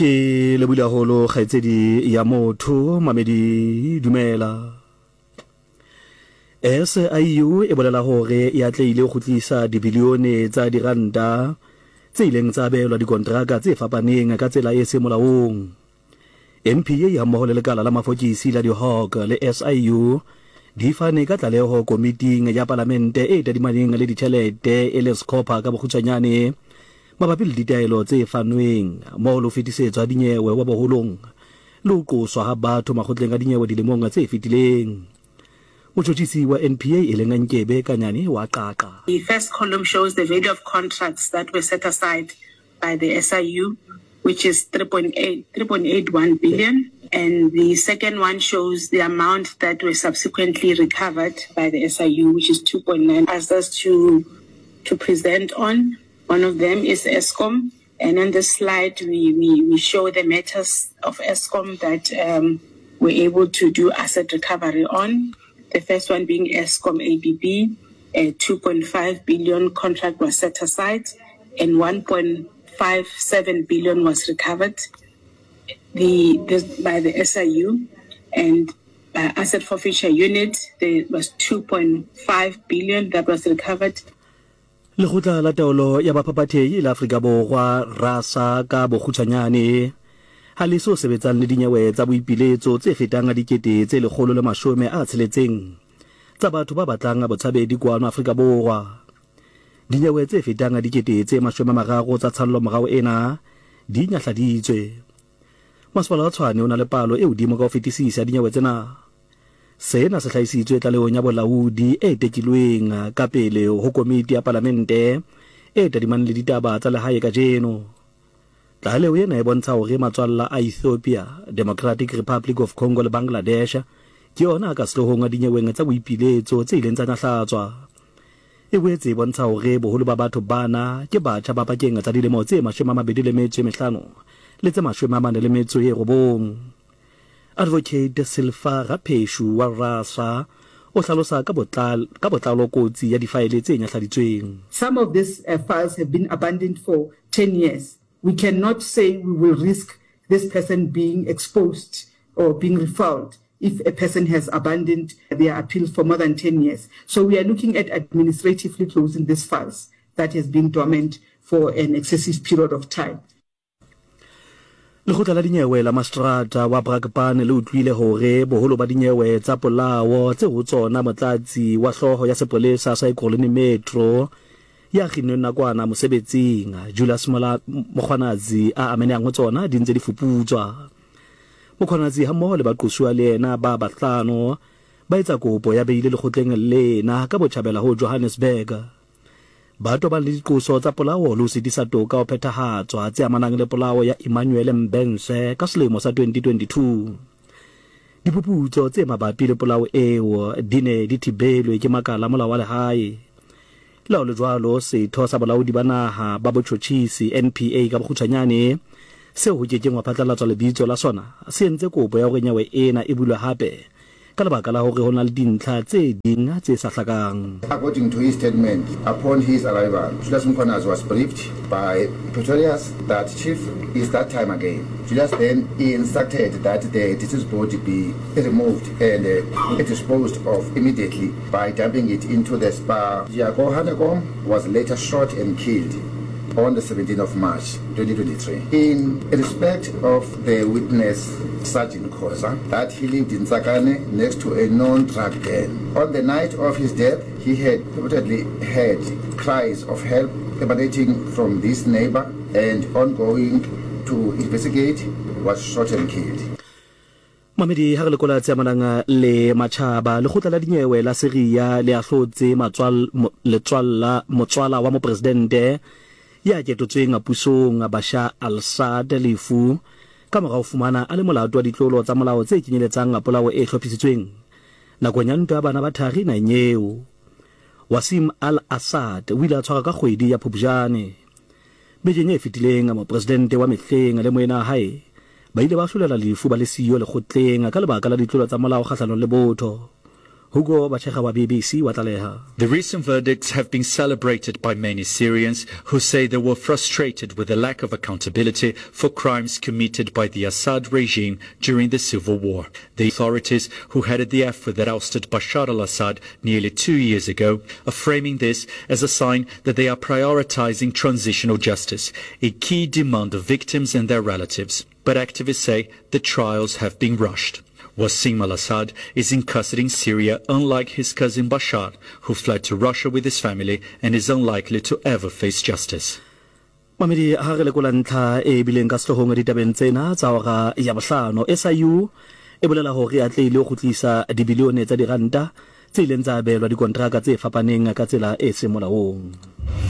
Ke lebohile haholo kgaitsedi ya motho Mamedi dumela. SIU e bolela hore e atlehile ho kgutlisa dibilione tsa diranta tse ileng tsa abelwa dikontraka tse fapaneng ka tsela e seng molaong. NPA hammoho le lekala la mafokisi la di-Hawk le SIU di fane ka tlaleho komiting ya palamente e tadimaneng le ditjhelete e le SCOPA ka bokgutshwanyane mabapi le ditaelo tse fanweng mmoho le ho fetisetswa ha dinyewe wa boholong le ho qoswa ha batho makgotleng a dinyewe dilemong tse fetileng. Motjhotjhisi wa NPA e leng Nkebe Kanyane wa qaqa. The first column shows the value of contracts that were set aside by the SIU, which is 3.8, 3.81 billion, and the second one shows the amount that were subsequently recovered by the SIU, which is 2.9. Asked us to, to present on. One of them is Eskom, and on this slide we, we, we show the matters of Eskom that um, we're able to do asset recovery on. The first one being Eskom ABB, a 2.5 billion contract was set aside and 1.57 billion was recovered the, this, by the SIU and by asset forfeiture unit there was 2.5 billion that was recovered. Lekgotla la Taolo ya Baphaphathehi la Afrika Borwa, RASA ka bokgutshwanyane, ha le so sebetsang le dinyewe tsa boipiletso tse fetang 160,000 tsa batho ba batlang botshabedi kwano Afrika Borwa. Dinyewe tse fetang 30,000 tsa tshallomorao ena di nyahladitswe. Masepala wa Tshwane o na le palo e hodimo ka ho fetisisa ya dinyewe tsena. Sena se hlahisitswe tlalehong ya bolaodi e tekilweng ka pele ho komiti ya palamente e tadimaneng le ditaba tsa lehae kajeno. Tlaleho ena e bontsha hore matswalla a Ethiopia, Democratic Republic of Congo le Bangladesh ke ona a ka sehloohong dinyeweng tsa boipiletso tse ileng tsa nyahlatswa. E boetse e bontsha hore boholo ba batho bana ke batjha ba pakeng tsa dilemo tse 25 le tse 49. Advocate Silfa Rapheshu wa RASA o hlalosa ka ka botlalo kotsi ya difaele tse nyahladitsweng. Some of these files have been abandoned for 10 years. We cannot say we will risk this person being exposed or being refouled if a person has abandoned their appeal for more than 10 years. So we are looking at administratively closing these files that has been dormant for an excessive period of time. Lekgotla la dinyewe la Maseterata wa Brakpan le utlwile hore boholo ba dinyewe tsa polao tse ho tsona motlatsi wa hlooho ya sepolesa sa Ekurhuleni Metro ya kginnweng nakwana mosebetsing Julius Mkhwanazi a amenehang ho tsona di ntse di fuputswa. Mkhwanazi hammoho le baqosuwa le yena ba bahlano ba etsa kopo ya beile lekgotleng lena ka botjhabela ho Johannesburg. Ba tobane le diqoso tsa polao le ho sitisa toka ho phethahatswa tse amanang le polao ya Emmanuel Mbense ka selemo sa 2022. Diphuputso tse mabapi le polao eo di ne di thibelwe ke makala a molao wa lehae. Le ha ho le jwalo, setho sa bolaodi ba naha ba botjhotjhisi, NPA ka bokgutshwanyane, seo ho ke keng hwa phatlalatswa lebitso la sona, se entse kopo ya hore nyewe ena e bulwe hape ka lebaka la hore ho na le dintlha tse ding tse sa hlakang. According to his statement, upon his arrival, Julius Mkhwanazi was briefed by Pretorius that Chief, it's that time again. Julius then instructed that the deceased body be removed and disposed of immediately by dumping it into the Spar. Jaco Hanekom was later shot and killed on the 17th of March 2023. In respect of the witness Sergeant Khoza, that he lived in Tsakane next to a known drug den. On the night of his death, he had reportedly heard cries of help emanating from this neighbor and on going to investigate was shot and killed. Mamedi, ha re lekola tse amanang le matjhaba, lekgotla la dinyewe la Syria le ahlotse letswalla motswala wa mopresidente ya ketotsweng pusong Bashar al-Assad lefu ka mora ho fumana a le molato wa ditlolo tsa molao tse kenyeletsang polao e hlophisitsweng nakong ya ntwa ya bana ba thari naheng eo. Wasim al-Assad o ile a tshwarwa ka kgwedi ya Phupjane. Bekeng e fetileng, mopresidente wa mehleng le moena wa hae ba ile ba ahlolelwa lefu ba le siyo lekgotleng ka lebaka la ditlolo tsa molao kgahlanong le botho. Hugo Batshega wa BBC wa tlaleha. The recent verdicts have been celebrated by many Syrians who say they were frustrated with the lack of accountability for crimes committed by the Assad regime during the civil war. The authorities who headed the effort that ousted Bashar al-Assad nearly two years ago are framing this as a sign that they are prioritizing transitional justice, a key demand of victims and their relatives. But activists say the trials have been rushed. Wassim al-Assad is in custody in Syria, unlike his cousin Bashar, who fled to Russia with his family and is unlikely to ever face justice. Mamedi, ha re lekola ntlha e bileng ka sehloohong ditabeng tsena tsa hora ya bohlano, SIU e bolela hore e atlehile ho kgutlisa dibilione tsa diranta tse ileng tsa abelwa dikontraka tse fapaneng ka tsela e seng molaong.